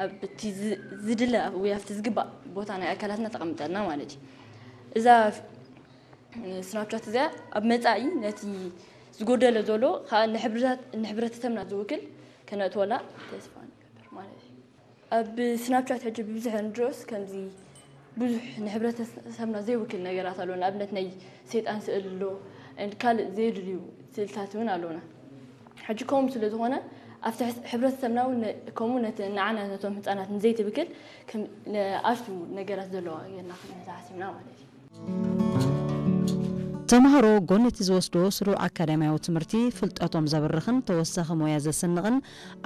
ኣብቲ ዝ- ዝድለ ወይ ኣብቲ ዝግባእ ቦታ ናይ ኣካላትና ተቐምጠልና ማለት እዩ። እዛ ስናፕቻት እዚኣ ኣብ መጻኢ ነቲ ዝጎደለ ዘሎ ከዓ ንሕብርታት- ንሕብረተሰብና ዝውክል ከነእትወላ ተስፋ ንገብር ማለት እዩ። ኣብ ስናፕቻት ሕጂ ብብዝሒ ንድረስ ከምዚ ብዙሕ ንሕብረተሰብና ዘይውክል ነገራት ኣሎ። ንኣብነት ናይ ሰይጣን ስእል ኣሎ፣ ካልእ ዘይድልዩ ስእልታት እውን ኣለና። ሕጂ ከምኡ ስለ ዝኾነ ኣብቲ ሕብረተሰብና እውን ከምኡ ነቲ ንዓና ነቶም ህፃናት ንዘይትብክል ኣሽቱ ነገራት ዘለዋ ጌርና ክንሕዛ ሓሲብና ማለት እዩ። ተምሃሮ ጎን እቲ ዝወስዶ ስሩዕ ኣካዳሚያዊ ትምህርቲ ፍልጠቶም ዘብርኽን ተወሳኺ ሞያ ዘስንቕን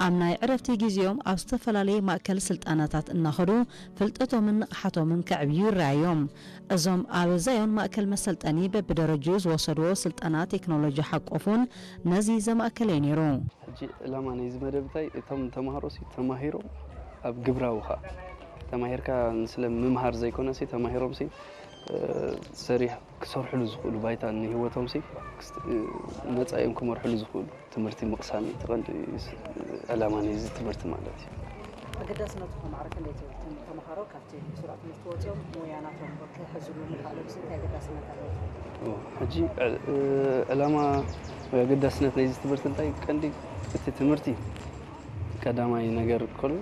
ኣብ ናይ ዕረፍቲ ግዜኦም ኣብ ዝተፈላለየ ማእከል ስልጠናታት እናኸዱ ፍልጠቶምን ንቕሓቶምን ከዕብዩ ይረኣዮም። እዞም ኣብ ዛዮን ማእከል መሰልጠኒ በብደረጅኡ ዝወሰድዎ ስልጠና ቴክኖሎጂ ሓቆፍ እውን ነዚ ዘማእከለ እዩ ነይሩ። ሕጂ ዕላማ ናይዚ መደብ እንታይ? እቶም ተምሃሮ ሲ ተማሂሮም ኣብ ግብራዊ ኸዓ ተማሂርካ ንስለ ምምሃር ዘይኮነ ሲ ተማሂሮም ሲ ሰሪሕ ክሰርሕሉ ዝኽእሉ ባይታ ንህይወቶም ሲ መፃኢኦም ክመርሕሉ ዝኽእሉ ትምህርቲ ምቕሳም እዩ እቲ ቀንዲ ዕላማ ናይዚ ትምህርቲ ማለት እዩ። ኣገዳስነቱ ከማዕረ ክንደይ ትብል? እቶም ተምሃሮ ካብቲ ስሩዕ ትምህርቲ ወፂኦም ሞያ ናቶም ክሕዝሉ ምኽኣሎም እንታይ ኣገዳስነት ኣለዎ? ሕጂ ዕላማ ወይ ኣገዳስነት ናይዚ ትምህርቲ እንታይ ቀንዲ እቲ ትምህርቲ ቀዳማይ ነገር ከሎ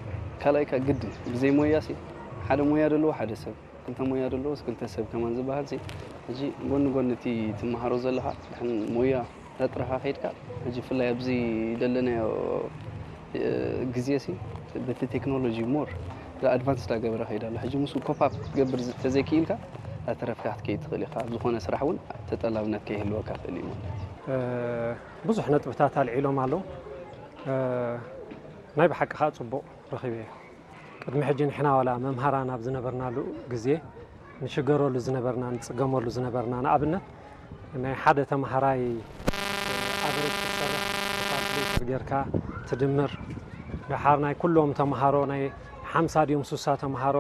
ካልኣይ ከ ግድን ብዘይ ሞያ ሲ ሓደ ሞያ ዘለዎ ሓደ ሰብ ክልተ ሞያ ዘለዎስ ክልተ ሰብ ከማን ዝበሃል ሲ ሕጂ ጎኒ ጎኒ እቲ ትመሃሮ ዘለኻ ድሕን ሞያ እንዳጥረኻ ከይድካ ሕጂ ብፍላይ ኣብዚ ዘለናዮ ግዜ ሲ በቲ ቴክኖሎጂ more advance እንዳገበረ ከይድ ኣሎ። ሕጂ ምስኡ cope up ክትገብር ተዘይክኢልካ እንዳተረፍካ ክትከይድ ትኽእል ኢኻ። ኣብ ዝኾነ ስራሕ እውን ተጠላብነት ከይህልወካ ይኽእል እዩ ማለት እዩ። ብዙሕ ነጥብታት ኣልዒሎም ኣለዉ። ናይ ብሓቂ ከዓ ፅቡቕ ረኺበዮ። ቅድሚ ሕጂ ንሕና ዋላ መምሃራን ኣብ ዝነበርናሉ ግዜ ንሽገረሉ ዝነበርና ንፅገመሉ ዝነበርና ንኣብነት ናይ ሓደ ተምሃራይ ኣቨሬጅ ክትሰርሕ ብካልኩሌተር ጌርካ ትድምር ደሓር ናይ ኩሎም ተምሃሮ ናይ ሓምሳ ድዮም ሱሳ ተምሃሮ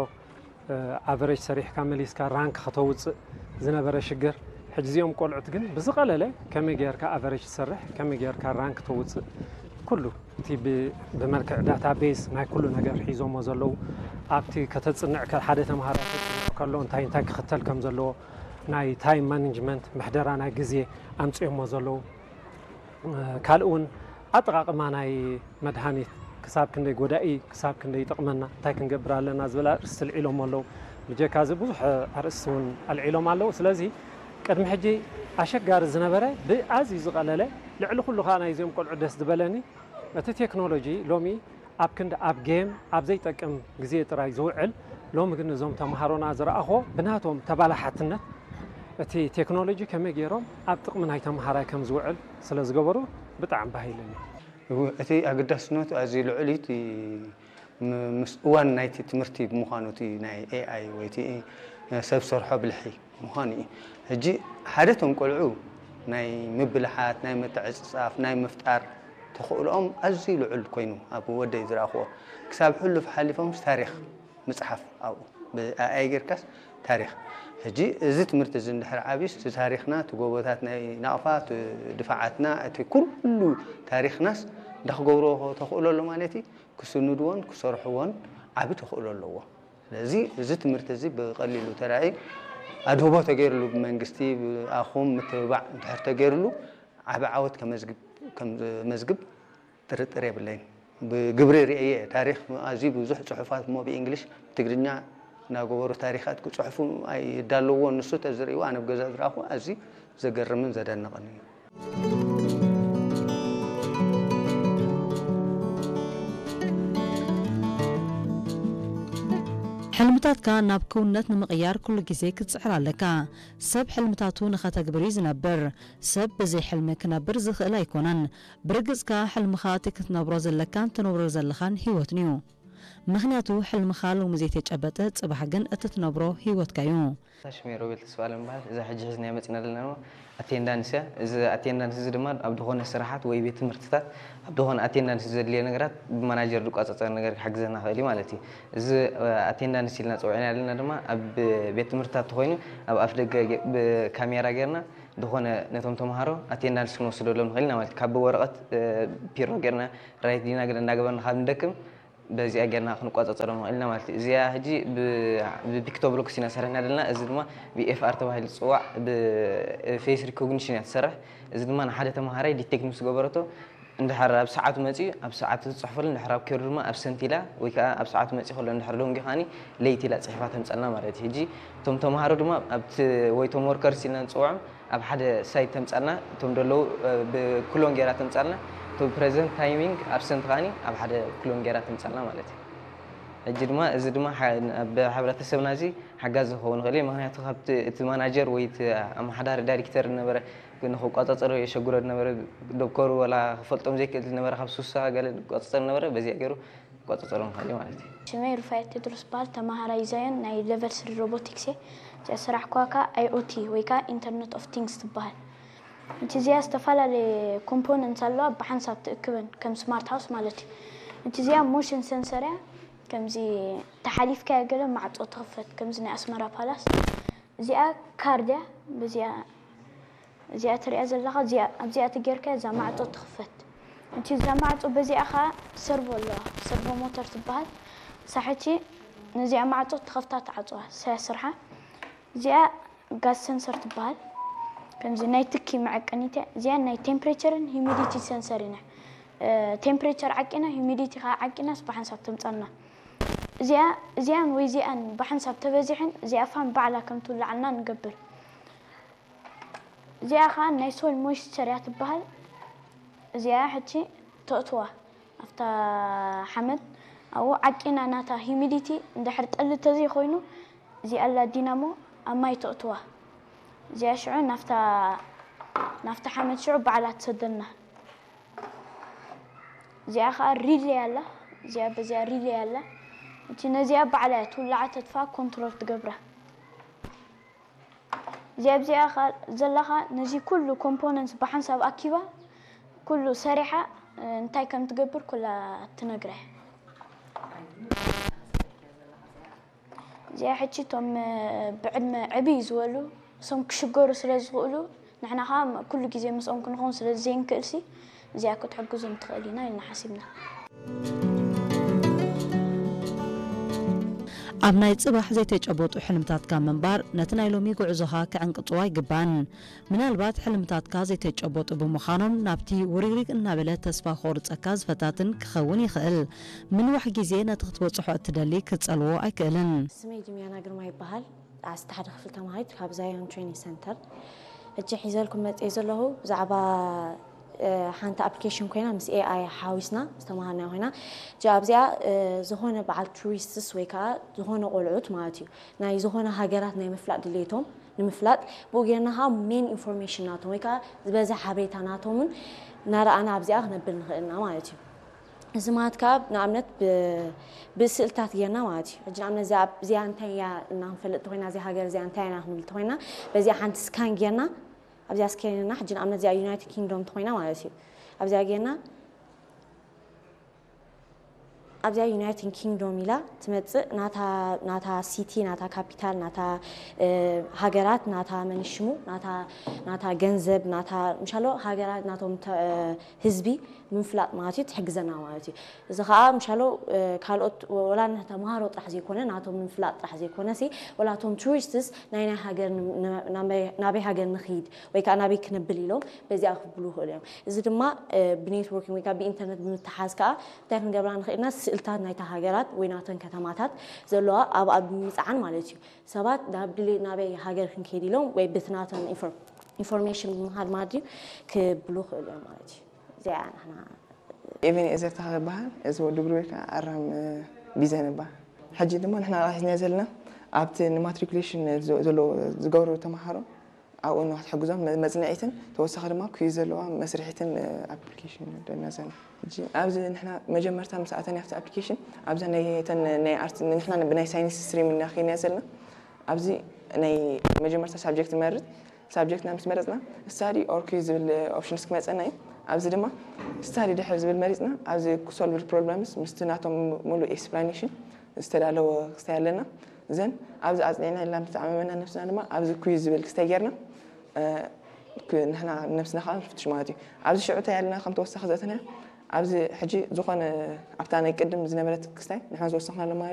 ኣቨሬጅ ሰሪሕካ መሊስካ ራንክ ከተውፅእ ዝነበረ ሽግር ሕጂ እዚኦም ቆልዑት ግን ብዝቐለለ ከመይ ጌርካ ኣቨሬጅ ትሰርሕ ከመይ ጌርካ ራንክ ተውፅእ ኩሉ እቲ ብመልክዕ ዳታቤዝ ናይ ኩሉ ነገር ሒዞሞ ዘለዉ ኣብቲ ከተፅንዕ ሓደ ተምሃራይ ከፅንዕ ከሎ እንታይ እንታይ ክኽተል ከም ዘለዎ ናይ ታይም ማኔጅመንት ምሕደራ ናይ ግዜ ኣምፅኦሞ ዘለዉ ካልእ እውን ኣጠቓቕማ ናይ መድሃኒት ክሳብ ክንደይ ጎዳኢ ክሳብ ክንደይ ይጠቕመና እንታይ ክንገብር ኣለና ዝብል ኣርእስቲ ኣልዒሎም ኣለዉ ብጀካ እዚ ብዙሕ ኣርእስቲ እውን ኣልዒሎም ኣለዉ ስለዚ ቅድሚ ሕጂ ኣሸጋሪ ዝነበረ ብኣዝዩ ዝቐለለ ልዕሊ ኩሉ ከዓ ናይዚኦም ቆልዑ ደስ ዝበለኒ እቲ ቴክኖሎጂ ሎሚ ኣብ ክንዲ ኣብ ጌም ኣብ ዘይጠቅም ግዜ ጥራይ ዝውዕል ሎሚ ግን እዞም ተምሃሮና ዝረኣኽዎ ብናቶም ተባላሓትነት እቲ ቴክኖሎጂ ከመይ ገይሮም ኣብ ጥቕሚ ናይ ተምሃራይ ከም ዝውዕል ስለ ዝገበሩ ብጣዕሚ ባህ ኢሉኒ። እወ እቲ ኣገዳስነቱ ኣዝዩ ልዑል እዩ እቲ ምስ እዋን ናይቲ ትምህርቲ ብምዃኑ እቲ ናይ ኤኣይ ወይ እቲ ሰብ ሰርሖ ብልሒ ምዃኑ እዩ። ሕጂ ሓደ እቶም ቆልዑ ናይ ምብልሓት፣ ናይ ምትዕጽጻፍ፣ ናይ ምፍጣር ተኽእሎኦም ኣዝዩ ልዑል ኮይኑ ኣብ ወደይ ዝረኣኽዎ ክሳብ ሕሉፍ ሓሊፎምስ ታሪኽ ምጽሓፍ ኣብኡ ብኣኣይ ጌርካስ ታሪኽ ሕጂ እዚ ትምህርቲ እዚ እንድሕር ዓብዩስ እቲ ታሪኽና እቲ ጎቦታት ናይ ናቕፋ እቲ ድፋዓትና እቲ ኩሉ ታሪኽናስ እንዳክገብርዎ ተኽእሎ ኣሎ ማለት እዩ ክስንድዎን ክሰርሕዎን ዓቢ ተኽእሎ ኣለዎ ስለዚ እዚ ትምህርቲ እዚ ብቐሊሉ ተራእዩ ኣድህቦ ተገይርሉ ብመንግስቲ ብኣኹም ምትብባዕ እንድሕር ተገይርሉ ዓቢ ዓወት ከመዝግብ ጥርጥር የብለይን። ብግብሪ ርእየ እየ። ታሪኽ ኣዝዩ ብዙሕ ጽሑፋት እሞ ብኢንግሊሽ ብትግርኛ እናገበሩ ታሪኻት ክጽሕፉ ኣይዳለውዎን። ንሱ ተዝርእይዎ ኣነ ብገዛ ዝረኣኹ ኣዝዩ ዘገርምን ዘደንቕን እዩ። ሕልምታትካ ናብ ክውንነት ንምቕያር ኩሉ ግዜ ክትጽዕር ኣለካ። ሰብ ሕልምታቱ ንኸተግብር እዩ ዝነብር። ሰብ ብዘይ ሕልሚ ክነብር ዝኽእል ኣይኮነን። ብርግጽ ከኣ ሕልምኻ እቲ ክትነብሮ ዘለካን ትነብሮ ዘለኻን ህይወትን'ዩ። ምኽንያቱ ሕልምኻ ሎሚ ዘይተጨበጠ ጽባሕ ግን እትትነብሮ ህይወትካ'ዩ። ሽመይ ሮቤል ተስፋኣለም እበሃል። እዛ ሕጂ ሒዝናያ መጺእና ዘለና ድማ ኣቴንዳንስ እያ። እዚ ኣቴንዳንስ እዚ ድማ ኣብ ዝኾነ ስራሓት ወይ ቤት ትምህርትታት ኣብ ዝኾነ ኣቴንዳንስ ዘድልዮ ነገራት ብማናጀር ዝቆጻጸር ነገር ክሕግዘና ይኽእል እዩ ማለት እዩ። እዚ ኣቴንዳንስ ኢልና ጸዊዕናዮ ዘለና ድማ ኣብ ቤት ትምህርትታት ተኾይኑ ኣብ ኣፍደገ ብካሜራ ጌርና ዝኾነ ነቶም ተምሃሮ ኣቴንዳንስ ክንወስደሎም ንኽእል ኢና ማለት እዩ። ካብ ብወረቐት ፒሮ ጌርና ራይት ዲና ገለ እንዳገበርና ካብ ንደክም በዚኣ ጌርና ክንቆጻጸሮም ንኽእል ኢና ማለት እዩ። እዚኣ ሕጂ ብ- ብፒክቶብሎክስ ኢና ሰሪሕና ዘለና። እዚ ድማ ብኤፍኣር ተባሂሉ ዝጽዋዕ ብፌስ ሪኮግኒሽን እያ ትሰርሕ። እዚ ድማ ንሓደ ተምሃራይ ዲቴክት ምስ ገበረቶ እንድሕር ኣብ ሰዓቱ መጺኡ ኣብ ሰዓቱ ትጽሕፈሉ፣ እንድሕር ኣብ ከይዱ ድማ ኣብሰንት ኢላ ወይ ከዓ ኣብ ሰዓቱ መጺኡ ከሎ እንድሕር ደንጉዩ ከዓኒ ለይቲ ኢላ ጽሒፋ ተምጸልና ማለት እዩ። ሕጂ እቶም ተምሃሮ ድማ ኣብቲ ወይ እቶም ወርከርስ ኢልና ንጽውዖም ኣብ ሓደ ሳይት ተምጻልና፣ እቶም ደለዉ ብኩሎን ጌራ ተምጻልና፣ እቶም ፕሬዘንት ታይሚንግ ኣብሰንት ከዓኒ ኣብ ሓደ ኩሎን ጌራ ተምጻልና ማለት እዩ። ሕጂ ድማ እዚ ድማ ኣብ ሕብረተሰብና እዚ ሓጋዚ ክኸውን ይኽእል እዩ። ምክንያቱ ካብቲ እቲ ማናጀር ወይ እቲ ኣመሓዳሪ ዳይሬክተር ዝነበረ ንክቆጻጸሮ የሸግሮ ዝነበረ፣ ዶክተሩ ወላ ክፈልጦም ዘይክእል ዝነበረ ካብ ሱሳ ገለ ዝቆጻጸር ዝነበረ በዚኣ ገይሩ ክቆጻጸሮ ንኽእል እዩ ማለት እዩ። ሽመይ ሩፋኤል ቴድሮስ በሃል፣ ተመሃራይ ዛዮን ናይ ሌቨል ስሪ ሮቦቲክስ እየ። እዚኣ ስራሕ ኳካ ኣይኦቲ ወይ ከዓ ኢንተርኔት ኦፍ ቲንግስ ትበሃል። እቲ እዚኣ ዝተፈላለየ ኮምፖነንት ኣለዋ ብሓንሳብ ትእክበን ከም ስማርት ሃውስ ማለት እዩ። እቲ እዚኣ ሞሽን ሰንሰር እያ። ከምዚ ተሓሊፍካያ ገለ ማዕጾ ትኽፈት ከምዚ ናይ ኣስመራ ፓላስ። እዚኣ ካርድ እያ። በዚኣ እዚኣ ትሪኣ ዘለኻ እዚኣ ኣብዚኣ ትጌርካ እዛ ማዕጾ ትኽፈት። እቲ እዛ ማዕጾ በዚኣ ኸዓ ሰርቮ ኣለዋ። ሰርቮ ሞተር ትበሃል። ሳሕቲ ነዚኣ ማዕጾ ትኸፍታ ትዓጽዋ። ሳያ ስርሓ እዚኣ ጋዝ ሰንሰር ትበሃል። ከምዚ ናይ ትኪ መዐቀኒት እያ። እዚኣ ናይ ቴምፕሬቸርን ሂሚዲቲ ሰንሰር ኢና። ቴምፕሬቸር ዓቂና ሂሚዲቲ ከዓ ዓቂናስ ብሓንሳብ ተምፀልና። እዚኣ እዚኣን ወይ እዚኣን ብሓንሳብ ተበዚሐን እዚኣ ፋን ባዕላ ከም ትውላዓልና ንገብር። እዚኣ ከዓ ናይ ሶይል ሞይስቸር እያ ትበሃል። እዚኣ ሕጂ ተእትዋ ኣብታ ሓመድ ኣብኡ ዓቂና ናታ ሂሚዲቲ እንድሕር ጠሊ ተዘይኮይኑ እዚኣ ኣላ ዲናሞ ኣብ ማይ ተእትዋ። እዚኣ ሽዑ ናፍታ ናፍታ ሓመድ ሽዑ ባዕላ ትሰደልና። እዚኣ ከዓ ሪሌ ኣላ። እዚኣ በዚኣ ሪሌ ኣላ። እቲ ነዚኣ ባዕላ እያ ትውላዓ ተጥፋ ኮንትሮል ትገብራ። እዚኣ ኣብዚኣ ከ ዘለኻ ነዚ ኩሉ ኮምፖነንትስ ብሓንሳብ ኣኪባ ኩሉ ሰሪሓ እንታይ ከም ትገብር ኩላ ትነግረ። እዚኣ ሕጂ እቶም ብዕድመ ዕብይ ዝበሉ እሶም ክሽገሩ ስለ ዝኽእሉ ንሕና ከዓ ኩሉ ግዜ ምስኦም ክንኸውን ስለ ዘይንክእልሲ እዚኣ ክትሕግዞም ትኽእል ኢና ኢልና ሓሲብና። ኣብ ናይ ጽባሕ ዘይተጨበጡ ሕልምታትካ ምንባር ነቲ ናይ ሎሚ ጉዕዞኻ ክዕንቅጽዎ ኣይግባን። ምናልባት ሕልምታትካ ዘይተጨበጡ ብምዃኖም ናብቲ ውሪግሪግ እናበለ ተስፋ ክቑርጸካ ዝፈታትን ክኸውን ይኽእል። ምንዋሕ ግዜ ነቲ ክትበጽሖ እትደሊ ክትጸልዎ ኣይክእልን። ስመይ ጅምያና ግርማ ይበሃል። ዓሰርተ ሓደ ክፍሊ ተማሃሪት ካብ ዛዮን ትሬኒንግ ሰንተር። ሕጂ ሒዘልኩም መፅየ ዘለኹ ብዛዕባ ሓንቲ ኣፕሊኬሽን ኮይና ምስ ኤኣይ ሓዊስና ዝተምሃርናዮ ኮይና። እዚኣ ኣብዚኣ ዝኾነ በዓል ቱሪስትስ ወይ ከዓ ዝኾነ ቆልዑት ማለት እዩ ናይ ዝኾነ ሃገራት ናይ ምፍላጥ ድሌቶም ንምፍላጥ ብኡ ጌርና ከዓ ሜን ኢንፎርሜሽን ናቶም ወይ ከዓ ዝበዝሕ ሓበሬታ ናቶምን እናረኣና ኣብዚኣ ክነብል ንኽእል ኢና ማለት እዩ። እዚ ማለት ከዓ ንኣብነት ብስእልታት ጌርና ማለት እዩ። ሕጂ ንኣብነት እዚኣ እንታይ እያ እና ክንፈልጥ እንተኮይና እዚ ሃገር እዚኣ እንታይ ኢና ክንብል እንተኮይና በዚኣ ሓንቲ ስካን ጌርና ኣብዚኣ ስካን ጌርና ሕጂ ንኣብነት እዚኣ ዩናይትድ ኪንግዶም እንተኮይና ማለት እዩ ኣብዚኣ ጌርና ኣብዚኣ ዩናይትድ ኪንግዶም ኢላ ትመፅእ ናታ ሲቲ ናታ ካፒታል ናታ ሃገራት ናታ መንሽሙ ናታ ገንዘብ ናታ ምሻሎ ሃገራት ናቶም ህዝቢ ምፍላጥ ማለት እዩ ትሕግዘና ማለት እዩ እዚ ከዓ ምሻሎ ካልኦት ወላ ተምሃሮ ጥራሕ ዘይኮነ ናቶም ምፍላጥ ጥራሕ ዘይኮነ ሲ ወላ ቶም ቱሪስትስ ናይ ናይ ሃገር ናበይ ሃገር ንኽይድ ወይ ከዓ ናበይ ክነብል ኢሎም በዚኣ ክብሉ ይኽእሉ እዮም እዚ ድማ ብኔትወርኪንግ ወይ ከዓ ብኢንተርነት ብምትሓዝ ከዓ እንታይ ክንገብራ ንኽእልና ስእልታት ናይታ ሃገራት ወይ ናተን ከተማታት ዘለዋ ኣብኣ ብምፅዓን ማለት እዩ ሰባት ናብ ድሌት ናበይ ሃገር ክንከይድ ኢሎም ወይ ብቲ ናተን ኢንፎርሜሽን ብምሃድ ማለት እዩ ክብሉ ይኽእሉ እዮም ማለት እዩ እዚኣ ንሕና ኤቨን ኤዘር ተኸበሃል እዚ ወዲ ብሩይ ከዓ ኣራም ቢዘን ይበሃል ሕጂ ድማ ንሕና ሒዝና ዘለና ኣብቲ ንማትሪኩሌሽን ዝገብሩ ተምሃሮ ኣብኡ ንክትሕግዞም መፅንዒትን ተወሳኺ ድማ ኩዩ ዘለዋ መስርሒትን ኣፕሊኬሽን ደና ዘና ሕጂ ኣብዚ ንሕና መጀመርታ ምስ ኣተና ኣብቲ ኣፕሊኬሽን ኣብዛ ናይ ተን ናይ ኣርት ንሕና ብናይ ሳይንስ ስትሪም እና ከይና ዘለና ኣብዚ ናይ መጀመርታ ሳብጀክት ንመርፅ ሳብጀክትና ምስ መረፅና ስታዲ ኦር ኩዩ ዝብል ኦፕሽንስ ክመፀና እዩ ኣብዚ ድማ ስታዲ ድሕር ዝብል መሪፅና ኣብዚ ኩሶልቭድ ፕሮብለምስ ምስቲ ናቶም ሙሉእ ኤክስፕላኔሽን ዝተዳለወ ክስታይ ኣለና ዘን ኣብዚ ኣፅኒዕና ኢልና ምተዓመመና ነብስና ድማ ኣብዚ ኩዩ ዝብል ክስታይ ጌርና ንሕና ነብስና ከዓ ንፍትሽ ማለት እዩ ኣብዚ ሽዑ እንታይ ኣለና ከም ተወሳኺ ዘእተናዮ ኣብዚ ሕጂ ዝኾነ ኣብታ ናይ ቅድም ዝነበረት ክስታይ ንሕና ዝወሰኽናሉ ማለት